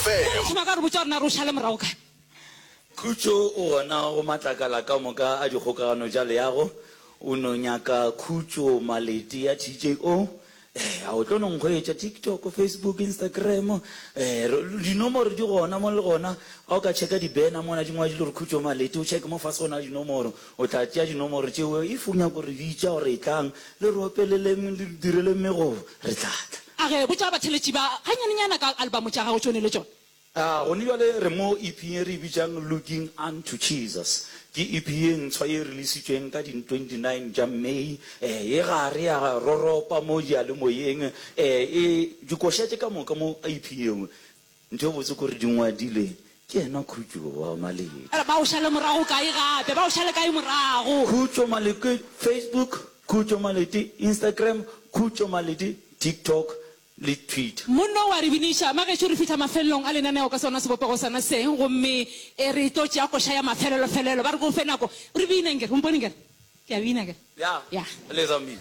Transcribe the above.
FM. Thoma ka re botša gore na re o šale morago kae. Khutšo o gona go matlakala ka moka a dikgokagano tša leago. O no nyaka Khutšo Malete ya TJO. Eh, a o tlo no nkhwetša TikTok, Facebook, Instagram. Eh, dinomoro di gona mo le gona. Ga o ka checka di-banner mona di ngwadilwe gore Khutšo Malete, o checke mo fase go na le dinomoro. O tla tšea dinomoro tšeo if o nyaka go re bitša gore etlang le re opeleleng, le re direleng megobo, re tla tla. A re, Botša batheeletši ba ganyanenyana ka albamo tša gago tšone le tšona. A Gone bjale re mo EP ye re e bitšang Looking Unto Jesus. Ke EP ye ntshwa ye releasitšweng ka di 29 tša May. E gare ya roropa mo diyalemoyeng. E dikoša tše ka moka mo EP yeo, ntho e botse ke gore di ngwadilwe ke yena Khutšo wa Malete. Ba o šale morago kae gape? Ba o šale kae morago? Khutšo Malete Facebook, Khutšo Malete Instagram, Khutšo Malete TikTok, le Twitter. Monna o a re biniša. Magešo re fihla mafelelong a lenaneo ka sona sebopego sona se, gomme e re tlo tšea koša ya mafelelofelelo. Ba re ke o fe nako re bine nkere. O mpone nkere? Ke a bina akere? Ya. Ya. Letsa mmino.